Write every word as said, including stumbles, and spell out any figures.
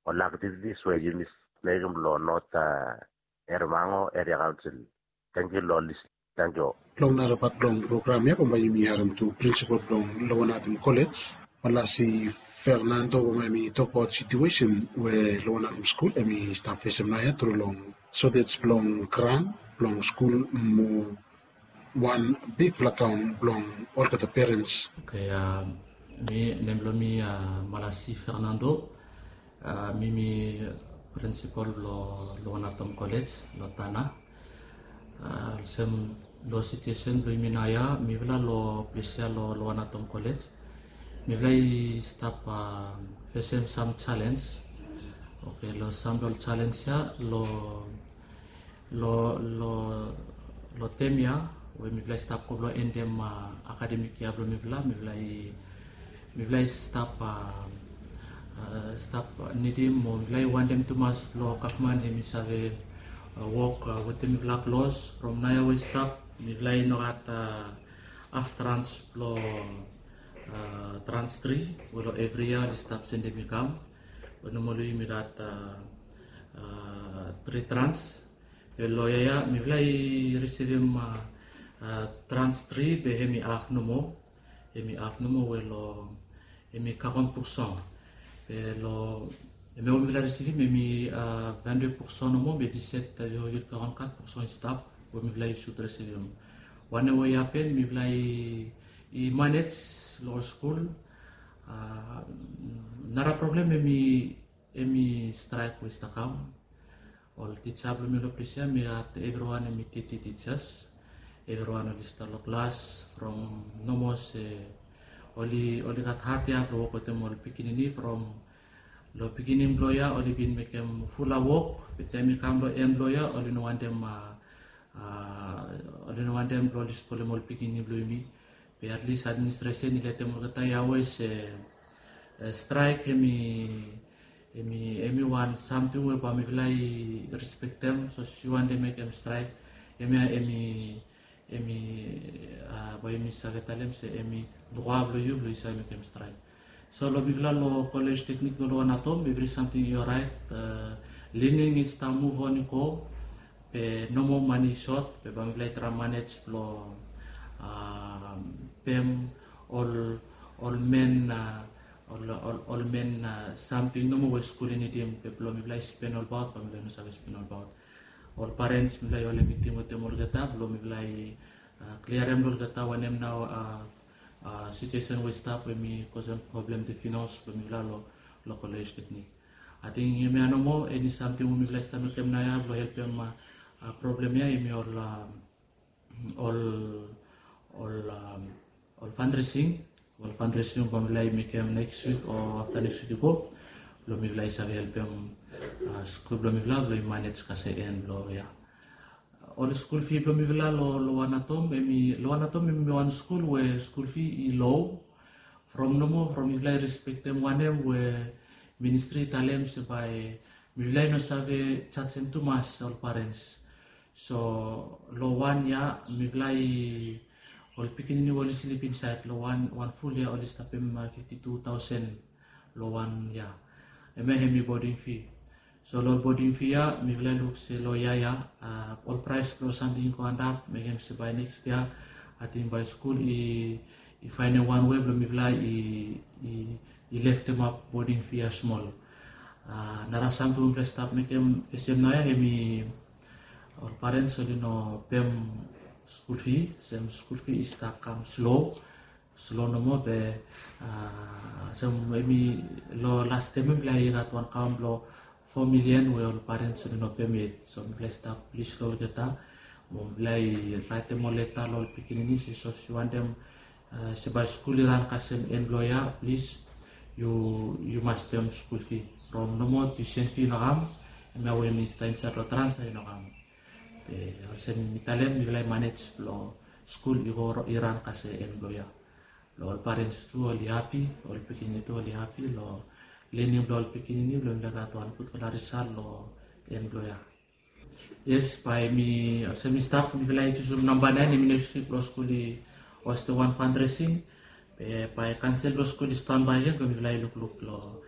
ol aktivitis we yumi mekim long North Errimango Area Council. Tangkiu long lis. Tangkiu. Long narapet blong program ya bambae yumi harem tu prinsipal blong Lower Natom College, Malasi Fernando, bambae yumi tokbaot situesen we Lower Natom skul hemi stap fesem naoia tru long sotes blong gran blong skul mo wan bigfala kaon blong olgeta perens. Oke, mi nem blong mi Malasi Fernando. Mi mi prinsipal blong Lower Natom College long Tanna. Olsem long situesen blong yumi naoia, mifala long ples ya long Lower Natom College, mifala i stap fesem sam jalens. Oke, long sam blong jalens ya long long long long tem ya we mifala i stap go blong endem akademik ya blong mifala, mifala i mifala i stap stap nidim mo mifala i wantem tumas blong gavman hemi save wok wetem mifala klos. From naoia we i stap, mifala i no gat haf trans blong trans tri we long evri yia oli stap sendem i kam. Be nomali yumi gat tri trans. Be long yia ya mifala i risivim trans tri be hemi haf nomo. Hemi haf nomo we long hemi kagon purson. Be long hemia we mifala risivim hemi vande purson nomo, be diset yurgil kagon kat purson i stap we mifala i sud risivim. Wanem we i hapen, mifala i manej long ol skul. Nara problem hemi hemi straek we i stap kam. Ol tija blong mi long ples ya, mi gat evriwan hemi teti tijas. Evriwan oli stap long klas from nomo se oli oli gat hat ya blong wok wetem ol pikinini from long pikinini blong ya oli bin mekem fulap wok, be taem i kam long en blong ya oli no wantem oli no wantem blong oli spoilem ol pikinini blong yumi. Be at least administration i letem olgeta ya we se straek hemi hemi hemi wan samting we bae mifala i respektem. So si wantem mekem straek, hemia hemi hemi bae yumi save talem se hemi droa blong yu blong yu save mekem straek. So long mifala long College Technique blong Lower Natom, evri samting i oraet. Learning i stap muv on i go. Be nomo mane i sot, be bae mifala i traem manej blong pem ol ol men ol ol men samting nomo we skul i nidim, be blong mifala i spen olbaot bae mifala i no save spen olbaot. Ol parens mifala i holem miting wetem olgeta blong mifala i kliarem long olgeta wanem nao situesen we i stap we hemi kosem problem de finans blong mifala long College Technique. Ating hemia nomo, eni samting we mifala i stap mekem naoia blong helpem problem ya hemi ol ol ol ol fundraising. Ol fundraising bae mifala i mekem neks wik o afta neks wik i go blong mifala i save helpem skul blong mifala blong i manej kasem en blong ya. Ol skul fi blong mifala long Lower Natom, hemi Lower Natom hemi wan skul we skul fi i lo. From nomo from mifala i respektem wanem we ministri i talem se bae mifala i no save jajem tumas ol parens. So long wan yia mifala i ol pikinini we oli slip insaed long wan wan ful yia oli stapem fifti tu taosen long wan yia. Hemia hemi boding fi. So long boding fi ya mifala i luk se long yia ya ol praes blong samting i go antap, mekem se bae neks yia ating bae skul i i faenem wan wei blong mifala i i i leftemap boding fi ya smol. Nara samting we mifala i stap mekem fesem naoia hemi ol parens oli no pem skul fi, sem skul fi i stap kam slo. Slo nomo be sem hemi long las tem ya mifala i gat wan kaon blong fo milian we ol parens oli no pem yet. So mifala i stap plis long olgeta mo mifala i raetem ol leta long ol pikinini se sapos yu wantem se bae skul i ran kasem en blong yia, plis yu yu mas pem skul fi. From nomo tuisen fi i no kam, hemia we mi stap insaed long trans ya i no kam. Be olsem mi talem mifala i manej blong skul i go i ran kasem en blong yia. Long ol parens tu oli hapi, ol pikinini tu oli hapi long lening blong ol pikinini blong mifala i gat wan gudfala risal long en blong yia. Yes, bae mi olsem mi stap mifala i jusum namba naen, hemi neks wik blong skul i hostem wan fundraising. Be bae kaonsel blong skul i stanbae gen blong mifala i lukluk long